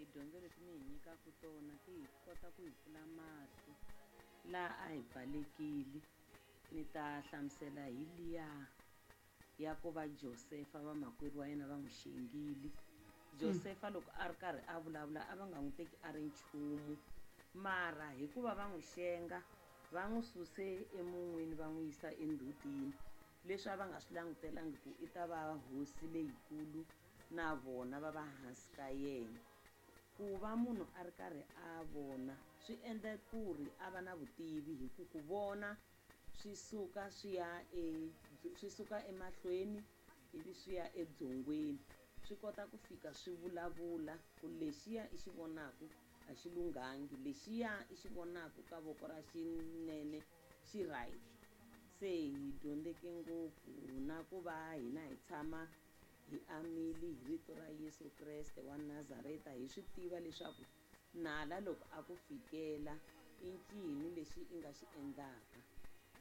Tidyondzo leti mi hi nyikaka tona ti hi kota ku hi pfula mahlo laha a hi pfalekile. Ni ta hlamusela hi liya ya ku va Josefa vamakwerhu wa yena va n'wi xengile. Josefa loko a ri karhi a vulavula a va nga n'wi teki a ri nchumu mara hikuva va n'wi xenga va n'wi suse emun'wini va n'wi yisa endzhutini leswi a va nga swi langutelangi ku i ta va hosi leyikulu na vona va va hansi ka yena. Ku va munhu a ri karhi a vona swi endla ku ri a va na vutivi hi ku ku vona swi suka swi ya e swi suka emahlweni ivi swi ya ebyongweni swi kota ku fika swi vulavula ku lexiya i xi vonaku a xi lunghangi lexiya i xi vonaku ka voko ra xinene xi right. Se hi dyondzeke ngopfu na ku va hina hi tshama hi amile hi rito ra Yesu Kreste wa Nazareta hi swi tiva leswaku nala loko a ku fikela i ncini lexi i nga xi endlaka.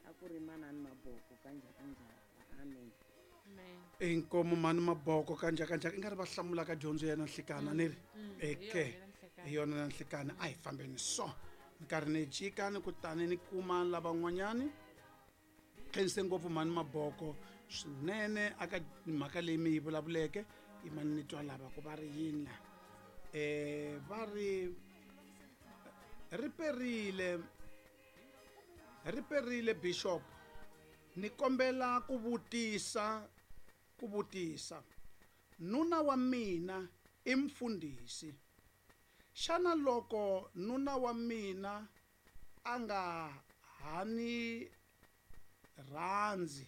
A ku ri manani Maboko ka Njhakanjhaka. Amen. Inkomu mani Maboko ka Njhakanjhaka i nga ri va hlamula ka dyondzo ya nanhlikana ni ri eke hi yona nanhlikana a hi fambeni so ni karhi ni jika ni kutani ni kuma lavan'wanyani. Khense ngopfu mhani Maboko swinene aka mhaka leyi mi yi vulavuleke yi mani ni twa lava ku va ri yini la va ri ri perile ri perile bishop ni kombela ku vutisa ku vutisa nuna wa mina i mfundhisi xana loko nuna wa mina a nga ha ni rhandzi,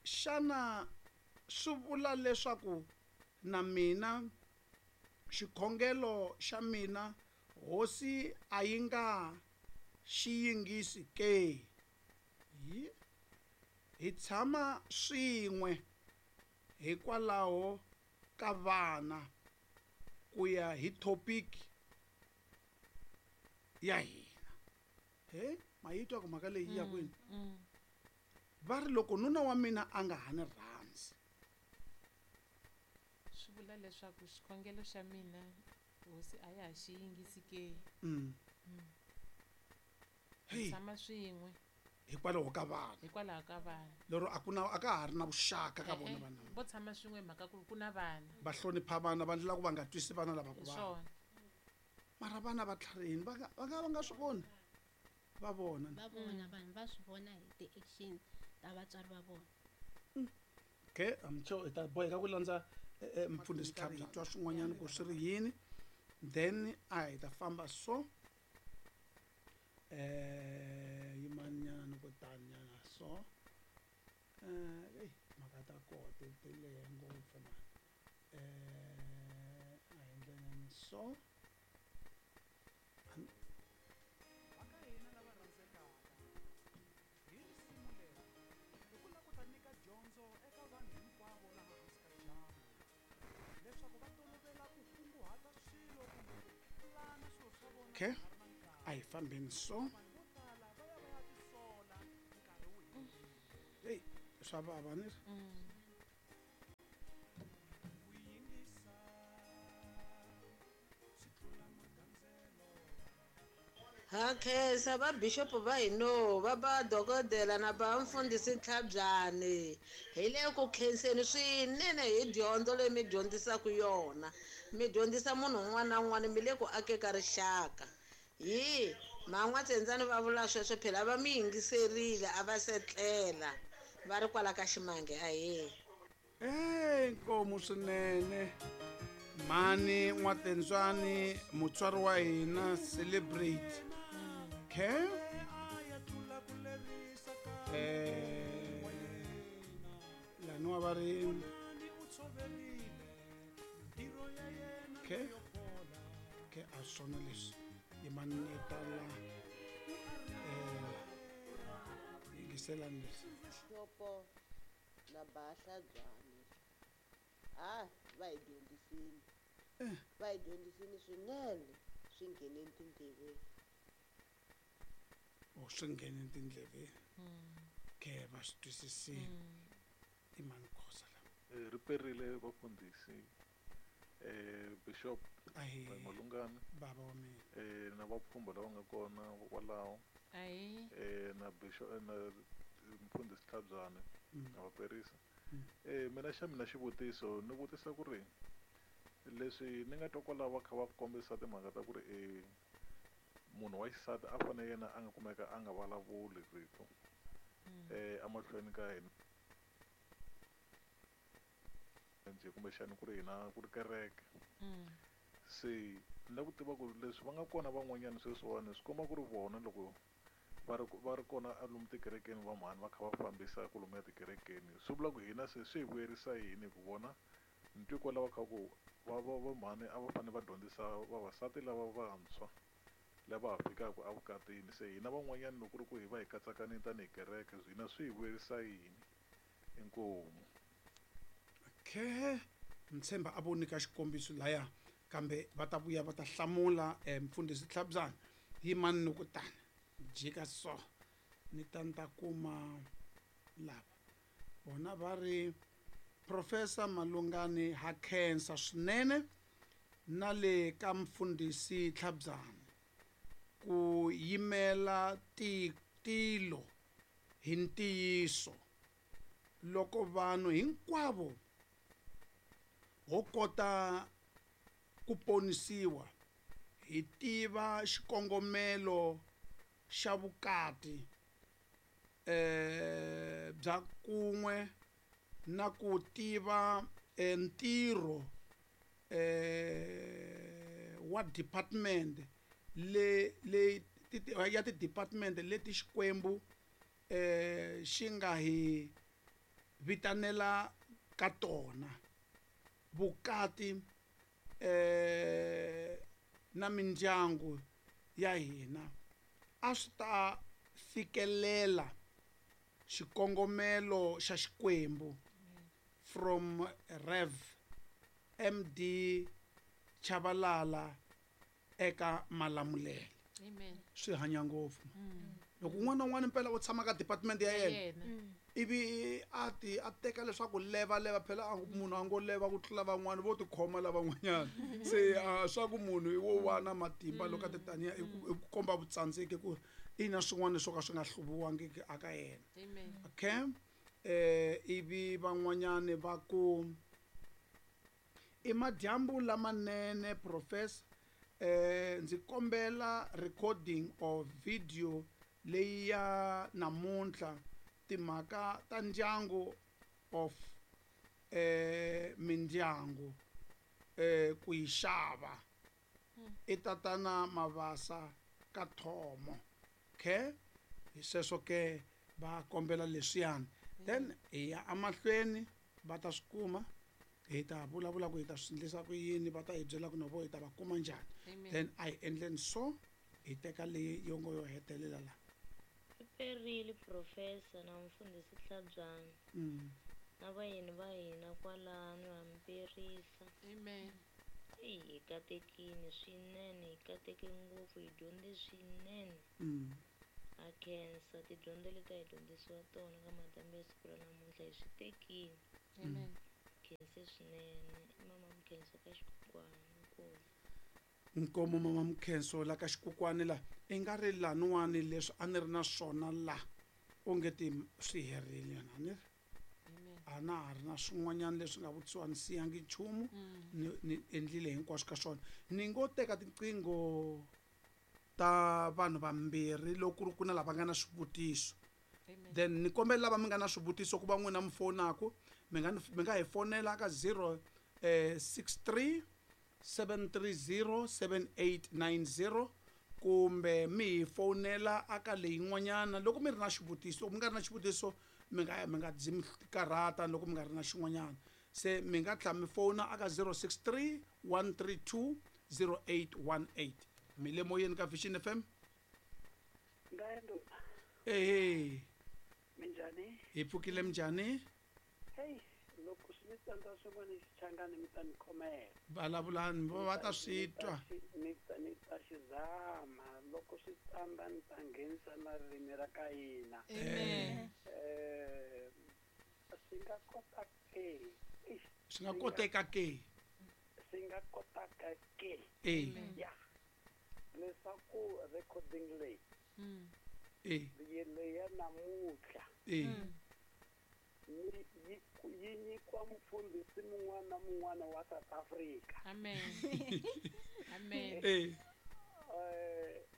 xana swi vula leswaku na mina xikhongelo xa mina Hosi a yi nga xi yingisi ke? Hi tshama swin'we hikwalaho ka vana ku ya hi thopiki ya hina. He ma yi twa ku mhaka leyi yi ya kwini? Va ri loko nuna wa mina a nga ha ni rhandzi. Swi vula leswaku xikhongelo xa mina hosi a ya ha xi yingisi ke? Hi tshama swin'we. Hikwalaho ka vana. Hikwalaho ka vana. Lero a ku na a ka ha ri na vuxaka ka vona vana. Vo tshama swin'we hi mhaka ku ku na vana. Va hlonipha vana va ndlela ku va nga twisi vana lava ku Hi vava. swona. Mara vana va tlharihini va nga va nga va nga swi voni va vona. Va vona vanhu va swi vona hi ti-action ta vatswari va vona. Okay, I'm sure hi ta boheka ku landza mfundhisi Tlhari hi twa swin'wanyana ku swi ri yini then a hi ta famba so yimani nyana ni ku tani nyana so eyi mhaka ta koho ti ti lehe ngopfu mani a hi ndleleni so. Okay, a hi fambeni so. Eyi swa vava ni ri. Ha khensa va bishop va hino va ba dokodela na ba mfundhisi Ntlhabyani hi le ku khenseni swinene hi dyondzo leyi mi dyondzisaka yona mi dyondzisa munhu un'wana na un'wana mi le ku ake ka rixaka hi man'watsendzani va vula sweswo phela va mi yingiserile a va setlela va ri kwala ka ximange ahee. Hey, nkomu swinene mhani n'watentswani mutswari wa hina celebrate okay laniwa va ri okay okay a swona leswi yimani ni ta la yingiselani leswi na Bahlabyane ha va hi dyondzisile va hi dyondzisile swinene swi ngheneni tindleveni. O swi nghene tindleveni okay va swi twisisile i mani Khosa la. Ri perile vafundhisi. Bishop Ahee. Malungani. Baba wa mina. Na vapfhumba lava nga kona kwalaho. Ahee. Na Bishop na Mfundhisi Tlhabyane na Vaperisa. Mina xa mina xivutiso ni vutisa ku ri leswi ni nga twa kwalaho va kha va kombisa timhaka ta ku ri munhu wa xisati a fanele yena a nga kumeka a nga vulavuli rito emahlweni ka hina njhe kumbexani ku ri hina ku ri kereke. Se ni lava ku tiva ku leswi va nga kona van'wanyana sweswiwani swi komba ku ri vona loko va ri kona lomu tikerekeni va mhani va kha va fambisa ku lomuya tikerekeni, swi vula ku hina se swi hi vuyerisa yini ku vona ni twi kwalaho kha ku va va va mhani a va fanele va dyondzisa vavasati lava vantshwa lava ha fikaka evukatini, se hina van'wanyana loko ku ri ku hi va hi katsakanile tanihi kereke hina swi hi vuyerisa yini? Inkomu. Okay, ni tshemba a vo nyika xikombiso laya, kambe va ta vuya va ta hlamula. Mfundhisi Tlhabyana, yimani ni ku tani jika so ni ta ni ta kuma lava vona va ri Professor Malungani ha khensa swinene na le ka Mfundhisi Tlhabyana ku yimela tilo hi ntiyiso. Loko vanhu hinkwavo ho kota ku ponisiwa hi tiva xikongomelo xa vukati bya kun'we na ku tiva ntirho wa department le le ya ti-department leti Xikwembu xi nga hi vitanela ka tona, vukati na mindyangu ya hina a swi ta fikelela xikongomelo xa Xikwembu. From Rev MD Chabalala eka Malamulele. Amen. Swi hanya ngopfu. Loko un'wana na un'wana mpela u tshama ka department ya yena, ivi a ti a teka leswaku leva leva phela munhu a ngo leva ku tlula van'wana vo tikhoma lavan'wanyana, se swa ku munhu wo va na matimba loko a ti taniya i ku komba vutsandzeki ku i na swin'wana swo ka swi nga hluviwangiki aka yena. Okay, ivi van'wanyani va ku i madyambu lamanene professor, ndzi kombela recording of video leyi ya namuntlha, timhaka ta ndyangu of mindyangu ku yi xava. I tatana Mavasa ka Thomo. Okay, hi sweswo ke va kombela leswiyani, then hi ya emahlweni va ta swi kuma, hi ta vulavula ku hi ta swi endlisa ku yini, va ta hi byela ku na vo hi ta va kuma njhani. Then a hi endleni so hi teka leyi yo ngo yo hetelela la. Riperile professor na Mfundhisi Tlhabyana. Na vayeni va hina kwalano hamperisa. Amen. Eyi hi katekile swinene, hi kateke ngopfu, hi dyondze swinene. Ha khensa tidyondzo leti a hi dyondzisiwa tona ka madyambu ya siku ra namuntlha hi swi tekile. Amen. Khense swinene i mama Mukhenso ka Xikukwana. Inkomu. Nkomo mama Mukhenso la ka Xikukwana la i nga ri laniwani leswi a ni ri na swona la onge ti swi herile na ni ri a na ha ri na swin'wanyana leswi nga vutisiwa, ni siyangi nchumu, ni endlile hinkwaswo ka swona. Ni ngo teka tiqingho ta vanhu vambirhi loko ku ri ku na lava nga na swivutiso, then ni kombela lava mi nga na swivutiso ku va n'wina mi fonaku, mi nga hi fonela ka 0 63 730 7890 kumbe mi hi fonela aka leyin'wanyana loko mi ri na xivutiso. Loko mi nga ri na xivutiso mi nga dzi mi karhata loko mi nga ri na xin'wanyana, se mi nga tlhela mi fona aka 063 132 0818. Mi le moyeni ka Vision FM. Ehe. Minjhani? Hi pfukile, minjhani? Hey, loko swi mi tsandza swin'wana xichangani mi ta ni khomela. Vulavulani va ta swi twa. Ni ta xi zama loko swi tsandza ni ta nghenisa na ririmi ra ka hina. Amen. Swi nga kota ke? Swi nga koteka ke? swi nga kotaka ke. E. Ya leswaku recording leyi leyi ya namuntlha ni yi nyikiwa mufundhisi mun'wana na mun'wana wa South Africa. Amen. Amen.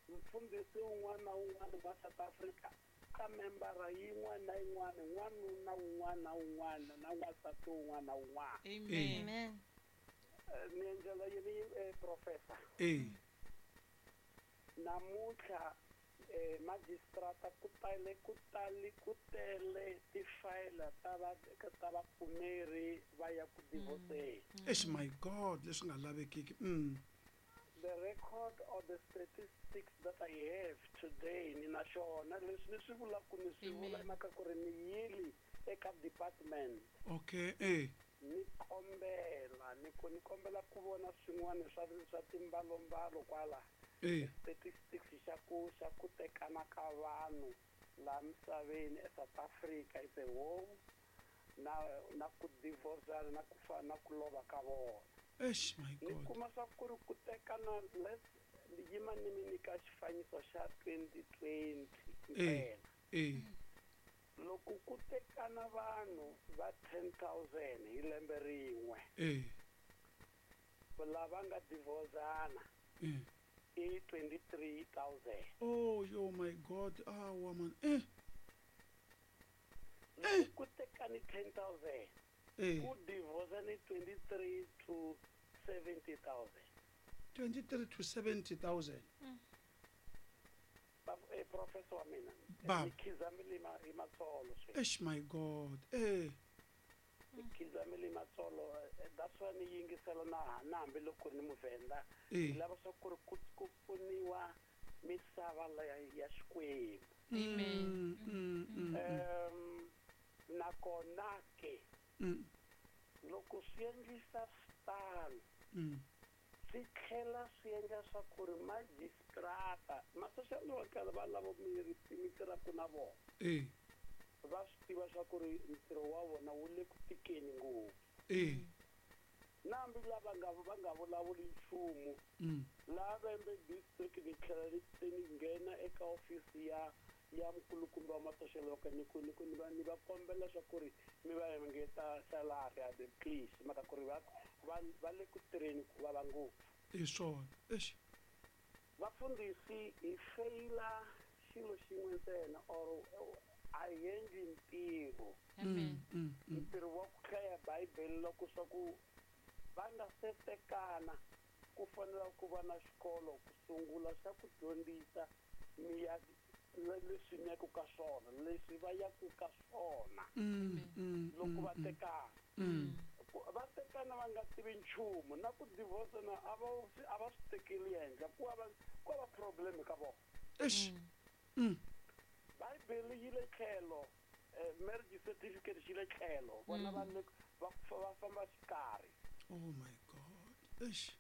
Mufundhisi un'wana na un'wana wa South Africa ka membara yin'wana na yin'wana, n'wanuna un'wana na un'wana na n'wansati un'wana na un'wana. Amen. Amen. Ni endlela yini, professor? Namuntlha magistrata ku tale ku tali ku tele tifayela ta vapfumeri va ya ku divorceni. Eish, my God, leswi nga lavekiki. The record or the statistics that I have today, ni na xona leswi ni swi vulaka, ni swi vula Amen. hi mhaka ku ri ni yili eka department. Okay, e. Ni kombela ni ku ni kombela ku vona swin'wana swa timbalombalo kwala. Statistics xa ku tekana ka vanhu laha misaveni eSouth Africa is a whole na ku divorcana na ku fa na ku lova ka vona. Eish, my Ni God. kuma swa ku ri ku tekana, let's yima ni mi nyika xifaniso xa 2020 ntsena. Loko ku tekana vanhu va 10 000 hi lembe rin'we, lava nga divorcana i 23 000. Oh yo, my God, awa man. Loko ku tekani 10 000, ku divorcani 23 to 70 000. 23 to 70 000. Professor wa mina, Baba. ni khizamile hi matsolo sweswi. Eish, my God. Ni khizamile hi matsolo. That's why ni yingisela na hambiloko ni muvhenda. Ni lava swa ku ri ku pfuniwa misava leya ya Xikwembu. Amen. Nakona ke loko swi endlisa switano, swi tlhela swi endla swa ku ri magistrata, ma-social worker va lava mi tirhaka na vona, va swi tiva swa ku ri ntirho wa vona wu le ku tikeni ngopfu. Na hambi lava nga va nga vulavuli nchumu, laha Vhembe district ni tlhela ni se ni nghena eka ofisi ya mukulukumba wa ma-social worker, ni ku ni va kombela swa ku ri mi va engeta salary a the please, mhaka ku ri va le ku tirheni ku vava ngopfu. Hi swona, eish. Vafundhisi hi feyila xilo xin'we ntsena, or a hi endli ntirho. Amen. Ntirho wa ku hlaya bibele, loko swa ku va nga se tekana ku fanele ku va na xikolo ku sungula xa ku dyondzisa mi ya leswi mi yaku ka swona, leswi va yaku ka swona loko va tekana. Va tekana va nga tivi nchumu, na ku divorce na a va swi tekeli henhla, ku va problem ka vona. Eish. Bibele yi le tlhelo, marriage certificate xi le tlhelo, vona va le va famba xikarhi. Oh my God, eish.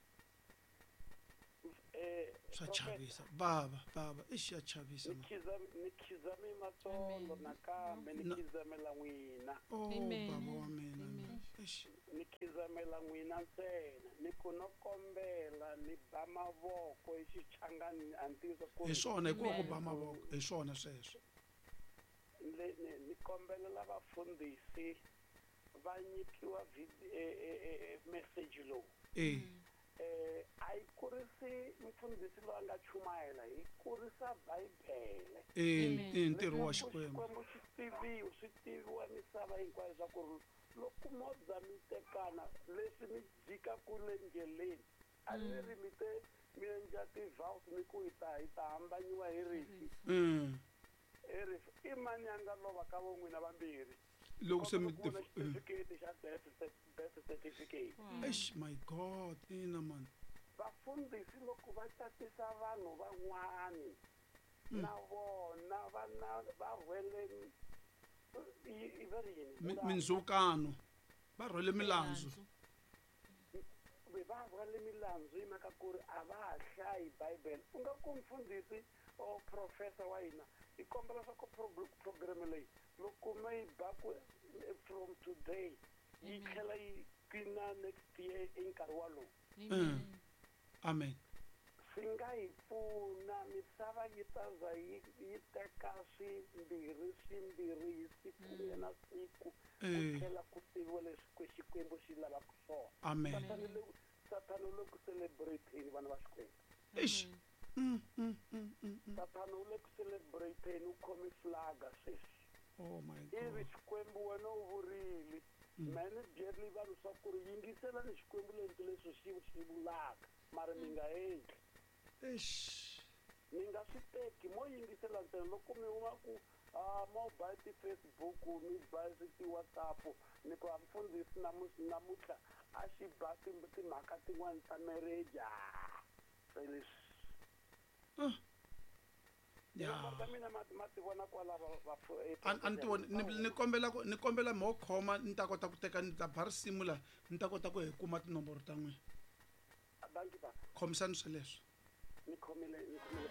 Swa Prophet, chavisa, bava, bava, eish, ya chavisa ni man. ni khizame matsolo nakambe ni khizamela n'wina. Oh. Amen. Bava wa mina. Amen. Eish. Ni khizamela n'wina ntsena, ni ku no kombela ni ba mavoko hi xichangani, a ni tivi ku Hi swona, hikuva ku Amen. ba mavoko hi swona sweswo. Ni kombelela vafundhisi va nyikiwa message lowu. A yi kurisi mfundhisi loyi a nga chumayela, yi kurisa bibele. E, i ntirho wa Leswaku Xikwembu. Xikwembu xi tiviwa, swi tiviwa misava hinkwayo swa ku ri loko mo za mi tekana, leswi mi jikaku le ndleleni, a ni ri mi te mi endla ti-vows, mi ku hi ta hambanyiwa hi rifi. Hi rifi, i mani a nga lova ka vo n'wina vambirhi? Loko se mi Kombela ku vona xitifiketi xa death certificate. Eish, my God, ina man. Vafundhisi loko va tatisa vanhu van'wani, na vona va va rhwele i va ri yini? Mindzhukano, va rhwele milandzu. Va rhwale milandzu hi mhaka ku ri a va ha hlayi bibele. U nga ku mfundhisi or professor wa hina, hi kombela swa ku program leyi loko mi yi ba ku from today yi tlhela yi qina next year i nkarhi walowu. Amen. Amen. Swi nga hi pfuna misava yi ta za yi yi teka swimbirhi swimbirhi hi siku na siku ku tlhela ku tiviwa leswi Xikwembu xi lavaka swona. Amen. Sathana le Sathana u le ku celebrate-ni vana va Xikwembu. Eish. Sathana u le ku celebrate-ni u khome flaga sweswi. Oh my Ivi God. Xikwembu wena u vurile mehe ni byerile vanhu swa ku ri yingiselani Xikwembu lento leswi xi xi vulaka mara mi nga endli. Eish. Mi nga swi teki mo yingisela ntsena loko mi huma ku a mo ba ti-Facebook mi ba ti-WhatsApp ni ku a mfundhisi namuntlha a xi ba timhaka tin'wani ta marriage ah se leswi. Ya. Tinomboro ta mina ma ma ti vona kwala va va A ni ti voni ni kombela ku ni kombela mo khoma ni ta kota ku teka ni ta ba risimu la ni ta kota ku hi kuma tinomboro ta n'wina. Dankie ba. Khomisani sweleswo. Ni khomile ni khomile.